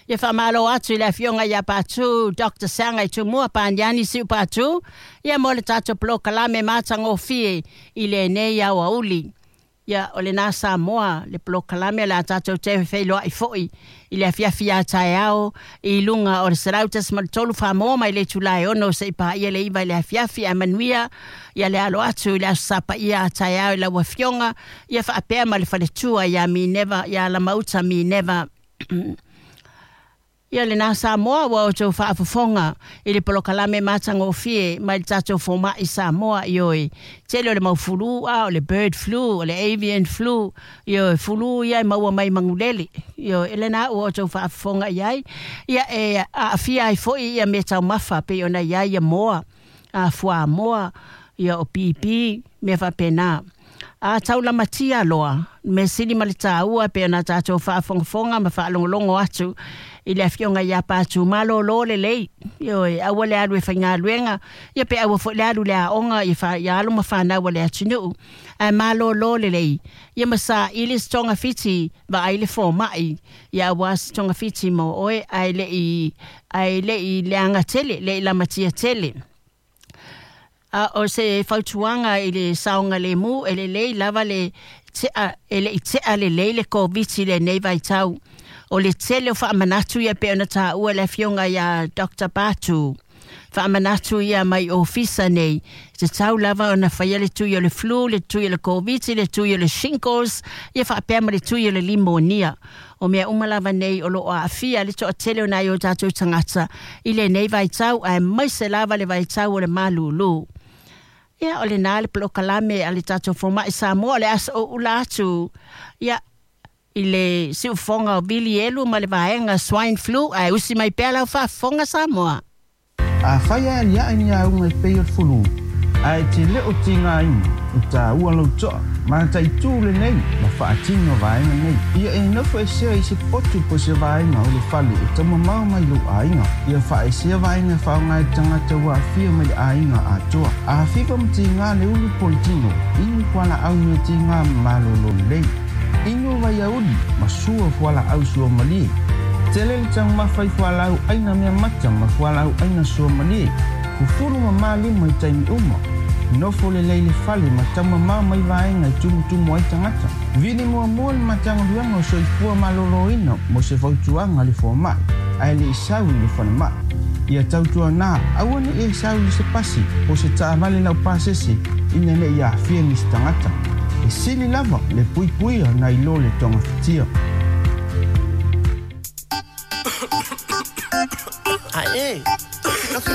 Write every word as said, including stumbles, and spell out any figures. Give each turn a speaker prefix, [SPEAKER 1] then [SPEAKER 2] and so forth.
[SPEAKER 1] Ia faamalo atu i le afioga ia Patu Doctor Saga i Tumua Paniani Siu Patu, ia mo le tatou polokalame matagofie i lenei aoauli. Ia o lena Samoa le polokalame la tatou te feiloai foi i le afiafi a taeao i luga o le selau tasi ma le tolu Famoa mai le itula e ono seia paia le iva i le afiafi. Ae manuia ia le alo atu i le aso Sapaia a taeao i lau afioga ia faapea ma le faletua ia Mineva, ia Lamauta Mineva. Ia lena Samoa, ua outou faafofoga i le polokalame matagofie mai le tatou fomai Samoa. Ioe, tele o le mau fulu, a o le bird flu, o le avian flu, ioe, fulu ia e maua mai magulele. Ioe, e lena ua outou faafofoga i ai. Ia e aafia ai foi ia mea taumafa pei ona i ai ia moa, a fuamoa, ia o pipi, mea faapena. A taulamatia loa, mea sili ma le taua pe ona tatou faafogafoga ma faalogologo atu i le afioga ia Patu, malōlō lelei. Ioe, aua le alu e faigaluega, ia pe aua foi le alu le aoga ia fa ia alo ma fanau a le atunuu, ae malōlō lelei. Ia ma saili se togafiti, vaai le fomai, ia aua se togafiti mo oe ae le'i ae le'i leaga tele, le'i lamatia tele. A o se fautuaga i le saogalemu, e lelei lava le tea e le'i tea lelei le Koviti lenei vaitau. O le tele o faamanatu ia pe ona taua le afioga ia Doctor Patu. Faamanatu ia mai ofisa nei, tatau lava ona faia le tui o le flu, le tui o le Koviti, le tui o le shingles, ia faapea ma le tui o le limonia. O mea uma lava nei o loo aafia le toatele o nai o tatou tagata i lenei vaitau, aemaise lava le vaitau o le malūlū. Ia o lena le polokalame a le tatou fomai Samoa. O le aso ula atu ia i le siufoga o Vili Elu ma le vaega swine flu, ae usi mai pea lau faafofoga Samoa.
[SPEAKER 2] Afai e aliae ni auga e pei o le fulu, ae te le o tigaina, e taua lou toa, mataitū lenei ma faatino vaega nei. Ia e nofo esea i se potu po se vaega o le fale e taumamao mai lou aiga. Ia faaesea vaega e faaaoga e tagata ua aafia mai le aiga atoa. A fiva ma tiga le ulu po le tino, inu fualaau mea tiga ma malōlō lelei. Inu vaiauli ma sua fualaau suamalie. Tele le taumafa i fualaau aina mea mata ma fualaau aina suamalie. Fufulu ma malima i taimi uma. Nofo lelei le fale ma taumamao mai vaega e tumutumu ai tagata. Vili muamua le Matagaluega o Soifua Malōlōina mo se fautuaga a le fomai, ae le'i sau i le falemai. Ia tautuanā, aua ne'i e sau i se pasi po se taavale laupasese ina ne'i aafia nisi tagata. E sili lava le puipuia nai lo le togafitia.
[SPEAKER 3] Ae,